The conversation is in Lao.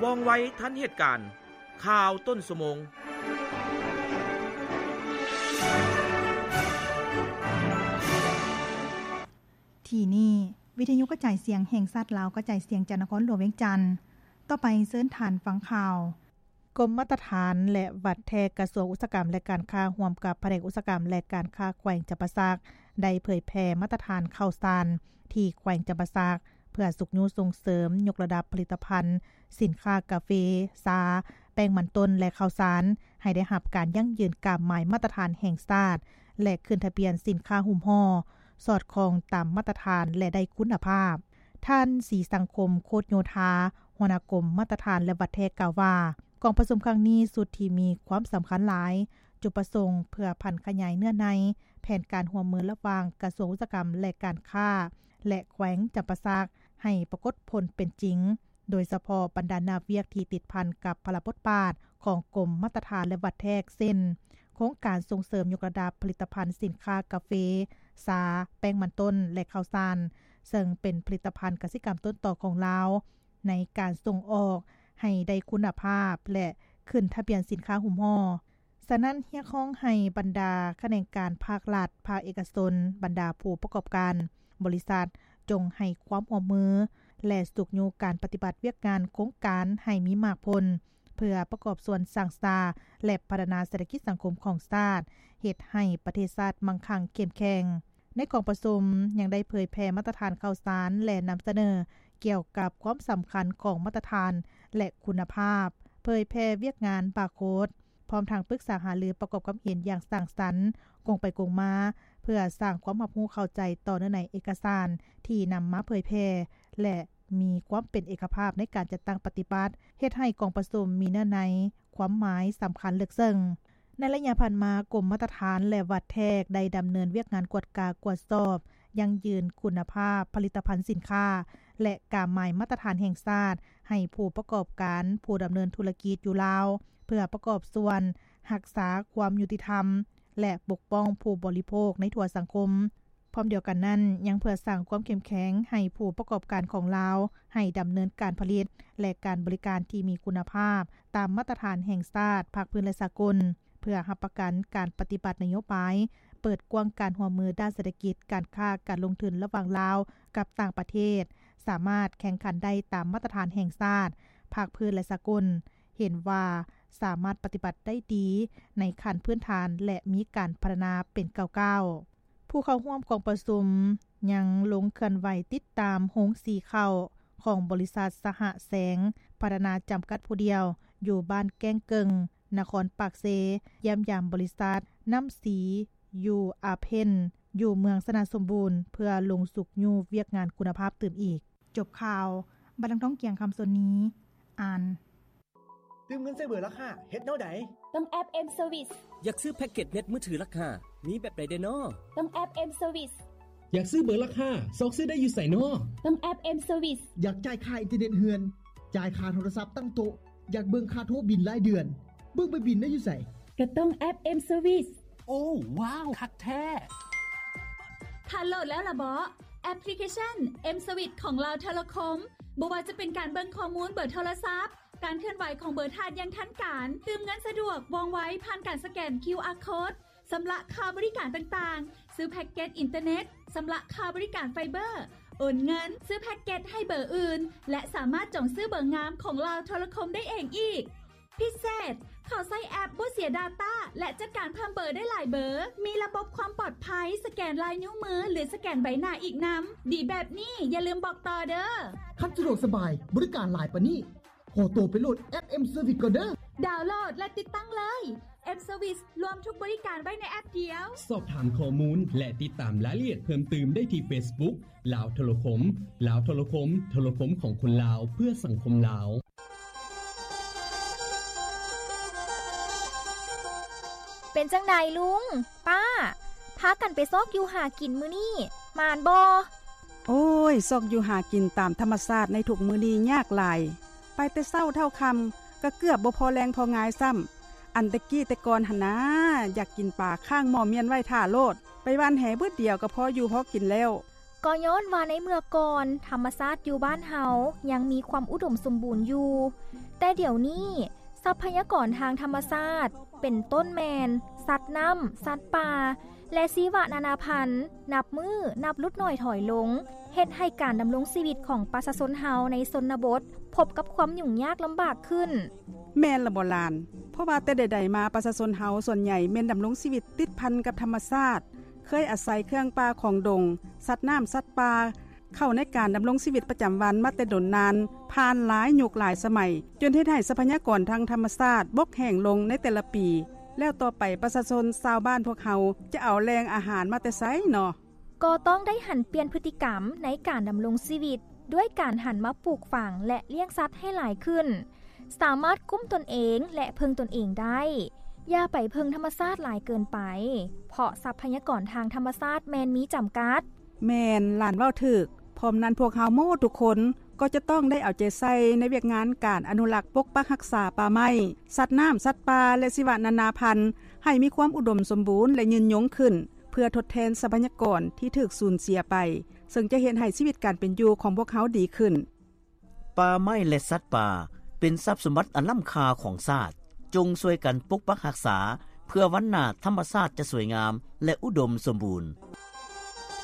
ວ່ອງໄວທັນເຫດການ, ຂ່າວຕົ້ນຊົ່ວໂມງ. ທີ່ນີ້ ວິທະຍຸກະຈາຍສຽງແຫ່ງຊາດລາວ ກະຈາຍສຽງຈາກນະຄອນຫຼວງວຽງຈັນ. ຕໍ່ໄປເຊີນທ່ານຟັງຂ່າວ. ກົມມາດຕະຖານ ແລະ ວັດແທກ ກະຊວງອຸດສາຫະກຳ ແລະ ການຄ້າ ຮ່ວມກັບພະແນກອຸດສາຫະກຳ ແລະ ການຄ້າແຂວງຈຳປາສັກ ໄດ້ເຜີຍແຜ່ມາດຕະຖານເຂົ້າສານທີ່ແຂວງຈຳປາສັກ ເພື່ອຊຸກຍູ້ສົ່ງເສີມຍົກລະດັບຜະລິດຕະພັນສິນຄ້າກາເຟ, ຊາ, ແປ້ງມັນຕົ້ນ ແລະ ເຂົ້າສານ ໃຫ້ໄດ້ຮັບການຢັ້ງຢືນກາບໝາຍມາດຕະຖານແຫ່ງຊາດ ແລະ ຂຶ້ນທະບຽນສິນຄ້າຫຸ້ມຫໍ່ ສອດຄ່ອງຕາມມາດຕະຖານ ແລະ ໄດ້ຄຸນນະພາບ. ທ່ານ ສີສັງຄົມ ໂຄດໂຍທາ ຫົວໜ້າກົມມາດຕະຖານ ແລະ ວັດແທກ ກ່າວວ່າ ກອງປະຊຸມຄັ້ງນີ້ ຊຸດທີ່ມີຄວາມສຳຄັນຫຼາຍ, ຈຸດປະສົງເພື່ອຜັນຂະຫຍາຍເນື້ອໃນແຜນການຮ່ວມມືລະຫວ່າງກະຊວງອຸດສາຫະກຳ ແລະ ການຄ້າ ແລະ ແຂວງຈຳປາສັກ ໃຫ້ປາກົດຜົນເປັນຈິງ, ໂດຍສະເພາະບັນດາໜ້າວຽກທີ່ຕິດພັນກັບພາລະບົດບາດຂອງກົມມາດຕະຖານ ແລະ ວັດແທກ ເຊັ່ນ ໂຄງການສົ່ງເສີມຍົກລະດັບຜະລິດຕະພັນສິນຄ້າກາເຟ, ຊາ, ແປ້ງມັນຕົ້ນ ແລະ ເຂົ້າສານ, ເຊິ່ງເປັນຜະລິດຕະພັນກະສິກຳຕົ້ນຕໍຂອງລາວ ໃນການສົ່ງອອກໃຫ້ໄດ້ຄຸນນະພາບ ແລະ ຂຶ້ນທະບຽນສິນຄ້າຫຸ້ມຫໍ່. ສະນັ້ນ ຮຽກຮ້ອງໃຫ້ບັນດາຂະແໜງການພາກລັດ, ພາກເອກະຊົນ, ບັນດາຜູ້ປະກອບການ, ບໍລິສັດ ຈົ່ງໃຫ້ຄວາມຮ່ວມມື ແລະ ຊຸກຍູ້ການປະຕິບັດວຽກງານໂຄງການໃຫ້ມີໝາກຜົນ ເພື່ອປະກອບສ່ວນສ້າງສາ ແລະ ພັດທະນາເສດຖະກິດສັງຄົມຂອງຊາດ, ເຮັດໃຫ້ປະເທດຊາດມັ່ງຄັ່ງເຂັ້ມແຂງ. ໃນກອງປະຊຸມຍັງໄດ້ເຜີຍແຜ່ມາດຕະຖານເຂົ້າສານ ແລະ ນຳສະເໜີກ່ຽວກັບຄວາມສຳຄັນຂອງມາດຕະຖານ ແລະ ຄຸນນະພາບ, ເຜີຍແຜ່ວຽກງານບາໂຄດ, ພ້ອມທັງປຶກສາຫາລືປະກອບຄວາມເຫັນຢ່າງສ້າງສັນ, ກົງໄປກົງມາ, ເພື່ອສ້າງຄວາມຮັບຮູ້ເຂົ້າໃຈຕໍ່ເນື້ອໃນເອກະສານທີ່ນຳມາເຜີຍແຜ່ ແລະ ມີຄວາມເປັນເອກະພາບໃນການຈັດຕັ້ງປະຕິບັດ, ເຮັດໃຫ້ກອງປະຊຸມມີເນື້ອໃນ, ຄວາມໝາຍສຳຄັນເລິກເຊິ່ງ. ໃນໄລຍະຜ່ານມາ, ກົມມາດຕະຖານ ແລະ ວັດແທກ ໄດ້ດຳເນີນວຽກງານກວດກາກວດສອບ, ຢັ້ງຢືນຄຸນນະພາບຜະລິດຕະພັນສິນຄ້າ ແລະ ກາໝາຍມາດຕະຖານແຫ່ງຊາດ ໃຫ້ຜູ້ປະກອບການ, ຜູ້ດຳເນີນທຸລະກິດຢູ່ລາວ, ເພື່ອປະກອບສ່ວນຮັກສາຄວາມຍຸຕິທຳ ແລະ ປົກປ້ອງຜູ້ບໍລິໂພກໃນທົ່ວສັງຄົມ. ພ້ອມດຽວກັນນັ້ນ, ຍັງເພື່ອສ້າງຄວາມເຂັ້ມແຂງໃຫ້ຜູ້ປະກອບການຂອງລາວ ໃຫ້ດຳເນີນການຜະລິດ ແລະ ການບໍລິການທີ່ມີຄຸນນະພາບ ຕາມມາດຕະຖານແຫ່ງຊາດ, ພາກພື້ນ ແລະ ສາກົນ, ເພື່ອຮັບປະກັນການປະຕິບັດນະໂຍບາຍເປີດກວ້າງການຮ່ວມມືດ້ານເສດຖະກິດ, ການຄ້າ, ການລົງທຶນລະຫວ່າງລາວກັບຕ່າງປະເທດ ສາມາດແຂ່ງຂັນໄດ້ຕາມມາດຕະຖານແຫ່ງຊາດ, ພາກພື້ນ ແລະ ສາກົນ, ເຫັນວ່າສາມາດປະຕິບັດໄດ້ດີໃນຂັ້ນພື້ນຖານ ແລະ ມີການພັດທະນາເປັນກ້າວໆ. ຜູ້ເຂົ້າຮ່ວມກອງປະຊຸມຍັງລົງເຄື່ອນໄຫວຕິດຕາມໂຮງສີເຂົ້າຂອງບໍລິສັດສະຫະແສງພັດທະນາຈຳກັດຜູ້ດຽວ ຢູ່ບ້ານແກ້ງເກິ່ງ ນະຄອນປາກເຊ, ຢ້ຽມຢາມບໍລິສັດນ້ຳສີຢູ່ອາເພັນ ຢູ່ເມືອງຊະນະສົມບູນ ເພື່ອລົງຊຸກຍູ້ວຽກງານຄຸນນະພາບຕື່ມອີກ. ຈົບຂ່າວ. ບັດນາງ ທອງກຽງ ຄຳສົນນີ ອ່ານ. ຕື່ມເງິນໃສ່ເບີລາຄາ ເຮັດແນວໃດ? ຕ້ອງແອັບ M Service. ຢາກຊື້ແພັກເກັດເນັດມືຖືລາຄາ ມີແບບໃດແດ່ນໍ? ຕ້ອງແອັບ M Service. ຢາກຊື້ເບີລາຄາ ຊອກຊື້ໄດ້ຢູ່ໃສນໍ? ຕ້ອງແອັບ M Service. ຢາກຈ່າຍຄ່າອິນເຕີເນັດເຮືອນ, ຈ່າຍຄ່າໂທລະສັບຕັ້ງໂຕະ, ຢາກເບິ່ງຄ່າໂທບິນລາຍເດືອນ, ເບິ່ງໃບບິນໄດ້ຢູ່ໃສ? ກໍຕ້ອງແອັບ M Service. ໂອ້ ວ້າວ ຄັກແທ້! ທ່ານໂຫຼດແລ້ວລະເບາະ? ແອັບພລິເຄຊັນ M Service ຂອງລາວໂທລະຄົມ. ບໍ່ວ່າຈະເປັນການເບິ່ງຂໍ້ມູນເບີໂທລະສັບ, ການເຄື່ອນໄຫວຂອງເບີທ່ານຢ່າງທັນການ, ຕື່ມເງິນສະດວກ, ວ່ອງໄວ, ຜ່ານການສະແກນ QR Code, ຊຳລະຄ່າບໍລິການຕ່າງໆ, ຊື້ແພັກເກັດອິນເຕີເນັດ, ຊຳລະຄ່າບໍລິການໄຟເບີ, ໂອນເງິນ, ຊື້ແພັກເກັດໃຫ້ເບີອື່ນ ແລະ ສາມາດຈອງຊື້ເບີງາມຂອງລາວໂທລະຄົມໄດ້ເອງອີກ. ພິເສດ, ເຂົ້າໃຊ້ແອັບບໍ່ເສຍດາຕ້າ ແລະ ຈັດການເພີ່ມເບີໄດ້ຫຼາຍເບີ, ມີລະບົບຄວາມປອດໄພ, ສະແກນລາຍນິ້ວມື ຫຼື ສະແກນໃບໜ້າອີກນຳ. ດີແບບນີ້ ຢ່າລືມບອກຕໍ່ເດີ້. ຄັນສະດວກສະບາຍ, ບໍລິການຫຼາຍປານນີ້, ຂໍໂຕໄປໂຫຼດແອັບ M Service ກ່ອນເດີ້. ດາວໂຫຼດ ແລະ ຕິດຕັ້ງເລີຍ. M Service ລວມທຸກບໍລິການໄວ້ໃນແອັບດຽວ. ສອບຖາມຂໍ້ມູນ ແລະ ຕິດຕາມລາຍລະອຽດເພີ່ມຕື່ມໄດ້ທີ່ Facebook ລາວໂທລະຄົມ. ລາວໂທລະຄົມ, ໂທລະຄົມຂອງຄົນລາວ ເພື່ອສັງຄົມລາວ. ເປັນຈັ່ງໃດລຸງ, ປ້າ, ພາກັນໄປຊອກຢູ່ຫາກິນມື້ນີ້ ໝານບໍ່? ໂອ້ຍ, ຊອກຢູ່ຫາກິນຕາມທຳມະຊາດໃນທຸກມື້ນີ້ຍາກຫຼາຍ. ໄປແຕ່ເຊົ້າເທົ່າຄ່ຳ ກໍເກືອບບໍ່ພໍແລງພໍງາຍຊ້ຳ. ອັນແຕ່ກີ້ແຕ່ກ່ອນຫັ້ນນາ, ຢາກກິນປາຄ້າງໝໍ້ມ້ຽນໄວ້ຖ້າໂລດ. ໄປຫວ່ານແຫບຶດດຽວກໍພໍຢູ່ພໍກິນແລ້ວ. ກໍຍ້ອນວ່າໃນເມື່ອກ່ອນ ທຳມະຊາດຢູ່ບ້ານເຮົາຍັງມີຄວາມອຸດົມສົມບູນຢູ່, ແຕ່ດຽວນີ້ ຊັບພະຍາກອນທາງທຳມະຊາດ ເປັນຕົ້ນແມ່ນ ສັດນ້ຳ, ສັດປ່າ ແລະ ຊີວະນານາພັນ ນັບມື້ນັບຫຼຸດໜ້ອຍຖອຍລົງ, ເຮັດໃຫ້ການດຳລົງຊີວິດຂອງປະຊາຊົນເຮົາໃນຊົນນະບົດ ພົບກັບຄວາມຫຍຸ້ງຍາກລຳບາກຂຶ້ນ. ແມ່ນລະບໍຫຼານ? ເພາະວ່າແຕ່ໃດໆມາ ປະຊາຊົນເຮົາສ່ວນໃຫຍ່ແມ່ນດຳລົງຊີວິດຕິດພັນກັບທຳມະຊາດ, ເຄີຍອາໄສເຄື່ອງປ່າຂອງດົງ, ສັດນ້ຳ, ສັດປ່າ ເຂົ້າໃນການດຳລົງຊີວິດປະຈຳວັນມາແຕ່ດົນນານ, ຜ່ານຫຼາຍຍຸກຫຼາຍສະໄໝ, ຈົນເຮັດໃຫ້ຊັບພະຍາກອນທາງທຳມະຊາດບົກແຫ້ງລົງໃນແຕ່ລະປີ, ແລ້ວຕໍ່ໄປປະຊາຊົນຊາວບ້ານພວກເຮົາຈະເອົາແຫຼ່ງອາຫານມາແຕ່ໃສເນາະ? ກໍຕ້ອງໄດ້ຫັນປ່ຽນພຶດຕິກຳໃນການດຳລົງຊີວິດ ດ້ວຍການຫັນມາປູກຝັງ ແລະ ລ້ຽງສັດໃຫ້ຫຼາຍຂຶ້ນ, ສາມາດກຸ້ມຕົນເອງ ແລະ ເພິ່ງຕົນເອງໄດ້. ຢ່າໄປເພິ່ງທຳມະຊາດຫຼາຍເກີນໄປ, ເພາະຊັບພະຍາກອນທາງທຳມະຊາດແມ່ນມີຈຳກັດ. ແມ່ນ, ຫຼານເວົ້າຖືກ. ພ້ອມນັ້ນພວກເຮົາໝົດທຸກຄົນກໍຈະຕ້ອງໄດ້ເອົາໃຈໃສ່ໃນວຽກງານການອະນຸລັກປົກປັກຮັກສາປ່າໄມ້, ສັດນ້ຳ, ສັດປ່າ ແລະ ຊີວະນານາພັນ ໃຫ້ມີຄວາມອຸດົມສົມບູນ ແລະ ຍືນຍົງຂຶ້ນ, ເພື່ອທົດແທນຊັບພະຍາກອນທີ່ຖືກສູນເສຍໄປ, ເຊິ່ງຈະເຮັດໃຫ້ຊີວິດການເປັນຢູ່ຂອງພວກເຮົາດີຂຶ້ນ. ປ່າໄມ້ ແລະ ສັດປ່າ ເປັນຊັບສົມບັດອັນລ້ຳຄ່າຂອງຊາດ. ຈົ່ງຊ່ວຍກັນປົກປັກຮັກສາ ເພື່ອວັນໜ້າທຳມະຊາດຈະສວຍງາມ ແລະ ອຸດົມສົມບູນ.